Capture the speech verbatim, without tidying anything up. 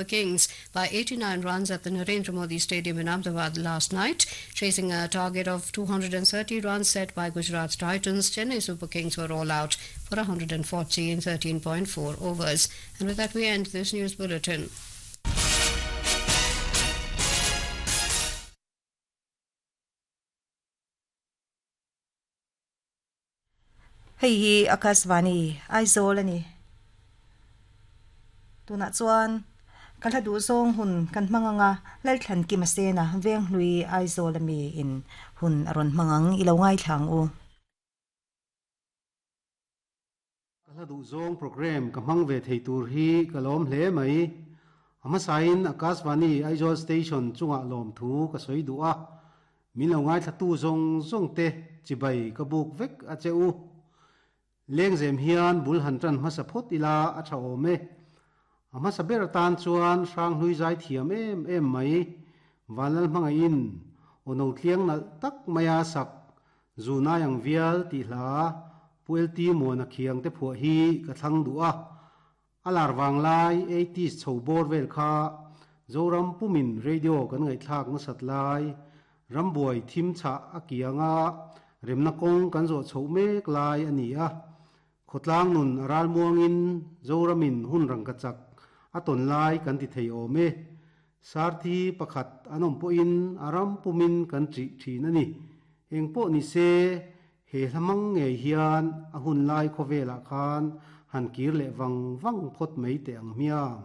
Kings by eighty-nine runs at the Narendra Modi Stadium in Ahmedabad last night. Chasing a target of two hundred thirty runs set by Gujarat Titans, Chennai Super Kings were all out for one hundred forty in thirteen point four overs. And with that, we end this news bulletin. Hei hi Akashvani Aizawl ani. Tunah chuan ka hla duh zawng hun kan hmang anga Lalthlan Kim Asena Venghlui Aizawl ami in hun a rawn hmang ang i lo ngaithla ang u. Ka hla duh zawng program ka hmang ve thei tur hi ka lawm hle mai. A hmasain Akashvani Aizawl Station chungah lawmthu ka sawi duh a, min lo ngaithlatu zawng zawng te chibai ka buk vek a che u. Lengzem hian bul han tan hmasa phawt ila a tha awm e. A hmasa ber atan chuan Hranghlui zai thiam em em mai Vanlal hmangaihin aw no tliang nalh tak maia sak Zunai ang vial tih hla Pu L T Muana khiang te phuah hi ka thlang duh a. A lar vang lai eighties chho bawr vel kha Zoram pumin radio kan ngaihthlak nasat lai Rambuai thim chhah a kianga remna kawng kan zawh chhoh mek lai a ni a. Khawtlang nun a ral muangin Zoramin hun rangka chak a tawn lai kan ti thei awm e. Sarthi pakhat an awm pawhin a ram pumin kan ṭih ṭhin a ni. Eng pawh ni se, he hla hmang ngei hian a hun lai khawvelah khan han kir leh vang vang phawt mai teh ang hmiang.